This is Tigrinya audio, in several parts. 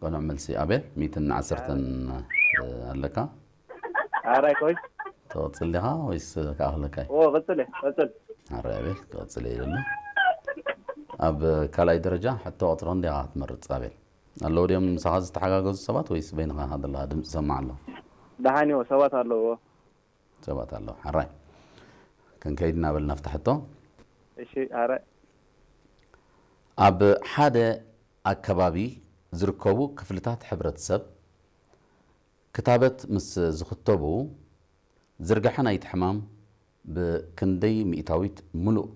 ቅኑዕ መልሲ ኣቤል፣ ሚእትን ዓሰርተን ኣለካ። ኣራይ ኮይስ ትቕጽል ዲኻ ወይስ ክኣኽለካ እዩ? ኦ ቀጽል ቀጽል ኣረ ኣቤል፣ ክቕጽል እየ ኢለሉ። ኣብ ካልኣይ ደረጃ ሕቶ ቁጽሪ ክንደይ ኢኻ ትመርጽ ኣቤል? ኣለዉ ድዮም ምሳኻ ዝተሓጋገዙ ሰባት ወይስ በይንኻ ኢኻ ዘለኻ? ድምጺ ሰማዕ ኣሎ። ደሓን እዮ ሰባት ኣለዎ። ሰባት ኣለዉ። ሓራይ ክንከይድ እናበልና ፍታሕቶ። እሺ ኣረ ኣብ ሓደ ኣከባቢ ዝርከቡ ክፍልታት ሕብረተሰብ ክታበት ምስ ዝኽተቡ ዝርጋሐ ናይቲ ሕማም ብክንደይ ሚእታዊት ምሉእ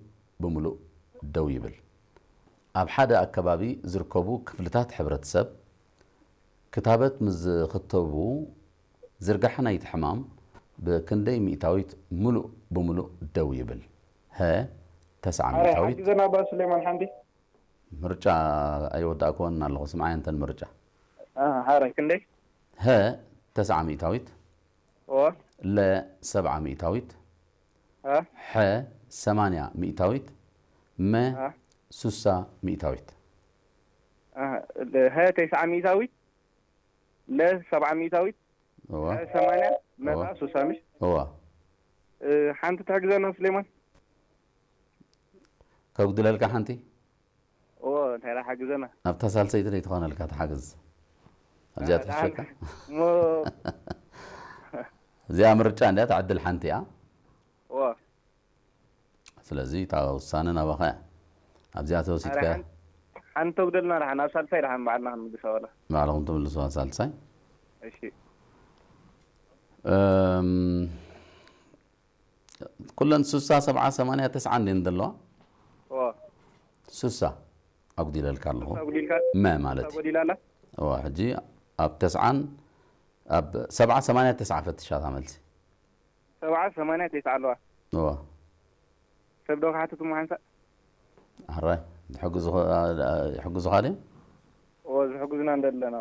ብምሉእ ደው ይብል? ኣብ ሓደ ኣከባቢ ዝርከቡ ክፍልታት ሕብረተሰብ ክታበት ምስ ዝኽተቡ ዝርጋሐ ናይቲ ሕማም ብክንደይ ሚእታዊት ምሉእ ብምሉእ ደው ይብል? ሀ ተስዓ ኣረ ሚእታዊት ሓግዘና ባ ሱሌማን ሓንቲ ምርጫ ኣይወዳእክዎን ኣለኹ። ስምዓይ እንተን ምርጫ ኣረ ክንደይ ሀ ተስዓ ሚእታዊት ኦ ለ ሰብዓ ሚእታዊት አ ሐ ሰማንያ ሚእታዊት መ አ ሱሳ ሚእታዊት አ ሀ ተስዓ ሚእታዊት ለ ሰብዓ ሚእታዊት እዋ ሀ ሰማንያ መታ እዋ። ሱሳ ምሽ እዋ እ፣ ሓንቲ ትሕግዘና ሱሌማን ከጉድለልካ ሓንቲ ኦ እንታይ ደኣ ሓግዘና ኣብታ ሳልሰይቲ ዘይትኾነልካ ትሓግዝ ኣብዚኣ ትሕሸካ እሞ እዚኣ ምርጫ እንዲያ ትዕድል ሓንቲ እያ ኦ ስለዚ እታ ውሳነ ናባኻ እያ ኣብዚኣ ተወሲድካ ሓንቲ ተጉደልና ደሓን ኣብ ሳልሳይ ደሓን በዓልና ክንምልሳ ወላ ባዕልኹም ትምልስዋ ሳልሳይ እሺ እም፣ ኩለን ሱሳ ሰብዓ ሰማንያ ተስዓ እንዴን ዘለዋ ኦ ሱሳ ኣጉዲለልካ ኣለኹ ተጉዲልካ መ ማለት እዩ ተጎዲላላ እዋ ሕጂ ኣብ ተስዓን ኣብ ሰብዓ ሰማንያ ተስዓ ፈትሻታ መልሲ ሰብዓ ሰማንያ ተስዓ ኣለዋ እዋ ሰብ ዶ ክሓትት እሞ ሓንሳእ ሕራይ ይሕግዙኻ ድዮም ኦ ዝሕግዙና እንደለና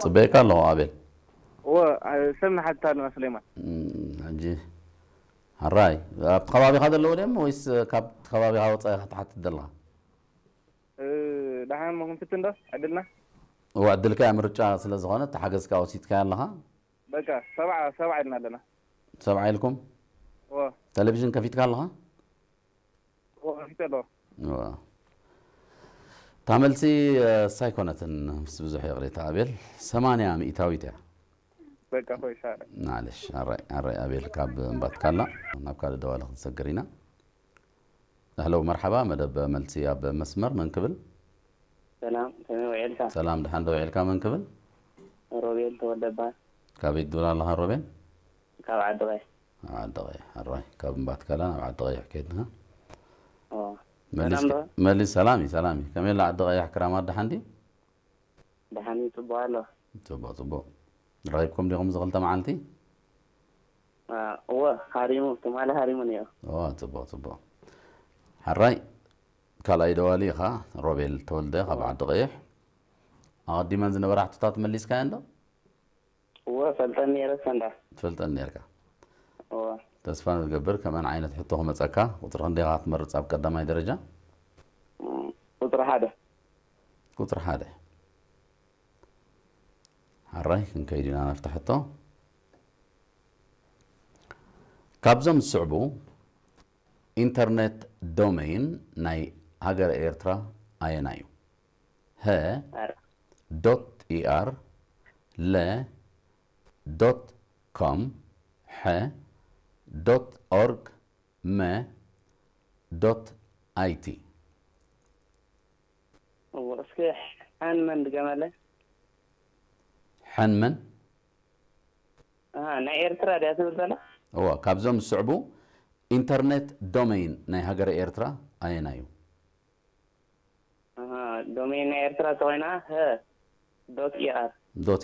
ፅበየካ ኣለኹ ኣቤል እወ ሰብ ንሓትት ኣለና ስሌማን እም፣ ሕጂ ሕራይ ኣብቲ ከባቢኻ ዘለዉ ድዮም ወይስ ካብቲ ከባቢኻ ወፃኢ ክትሓትት ዘለኻ እ፣ ደሓን ሞ ክንፍትን ዶ ዕድልና እዋ ዕድልካ እያ ምርጫ ስለ ዝኾነ እቲ ሓገዝካ ወሲድካ ኣለኻ በቃ ሰብዓ ሰብዓ ኢልና ኣለና ሰብዓ ኢልኩም እወ ቴሌቪዥን ከፊትካ ኣለኻ እወ ከፊተ ኣለዎ እዋ። እታ መልሲ እሳ ኣይኮነትን ምስ ብዙሕ ይቕሬታ ኣቤል ሰማንያ ሚእታዊት እያ በቃ ኮይሳ ማለሽ ኣራይ ኣራይ ኣቤል ካብ እምባትካላ ናብ ካልእ ደዋለ ክንሰግር ኢና ኣህለው መርሓባ መደብ መልሲ ኣብ መስመር መን ክብል ሰላም ከመይ ውዒልካ? ሰላም ድሓን ዶ ውዒልካ መን ክብል ሮቤል ተወልደ እበሃል። ካበይ ትብል ኣለኻ ሮቤል ካብ ዓዲ ቀይሕ። ኣብ ዓዲ ቀይሕ ኣራይ ካብ እምባትካላ ናብ ዓዲ ቀይሕ ከይድና ኦ፣ መሊስ ሰላም ዶ? መሊስ ሰላም እዩ ሰላም እዩ ከመይ ኣላ ዓዲ ቀይሕ ክራማት ድሓን ድዩ ደሓን እዩ፣ ጽቡቕ ኣሎ። ጽቡቕ ጽቡቕ ረኺብኩም ዲኹም እዚ ክልተ መዓልቲ አ፣ እወ፣ ሃሪሙ፣ ትማሊ ሃሪሙ ነይሩ። ኦ ጽቡቕ ጽቡቕ ሓራይ ካልኣይ ደዋሊ ኢኻ ሮቤል ተወልደ ካብ ዓዲ ቀይሕ ኣቐዲመን ዝነበራ ሕቶታት መሊስካየን ዶ እወ፣ ፈልጠን ነይረ ሰንዳ። ትፈልጠን ነርካ እወ፣ ተስፋ ንገብር ከመን ዓይነት ሕቶ ክመፀካ ቁፅሪ ክንደይኻ ክትመርፅ ኣብ ቀዳማይ ደረጃ እም፣ ቁፅሪ ሓደ። ቁፅሪ ሓደ ሓራይ ክንከይድ ኢና ናፍታ ሕቶ ካብዞም ዝስዕቡ ኢንተርኔት ዶሜይን ናይ ሃገረ ኤርትራ ኣየና እዩ ሀ ኣረ፣ ዶት ኢኣር ለ ዶት ኮም ሐ ዶት ኦርግ መ ዶት ኣይቲ እወ፣ እስኪ ሓን መን ድገመለ? ሐን መን ኣሃ፣ ናይ ኤርትራ ድያ ትብል ዘላ? እዋ ካብዞም ዝስዕቡ ኢንተርኔት ዶሜይን ናይ ሃገረ ኤርትራ ኣየና እዩ ኣሃ፣ ዶሜይን ናይ ኤርትራ ተኾይና ሀ ዶት ኢኣር ዶት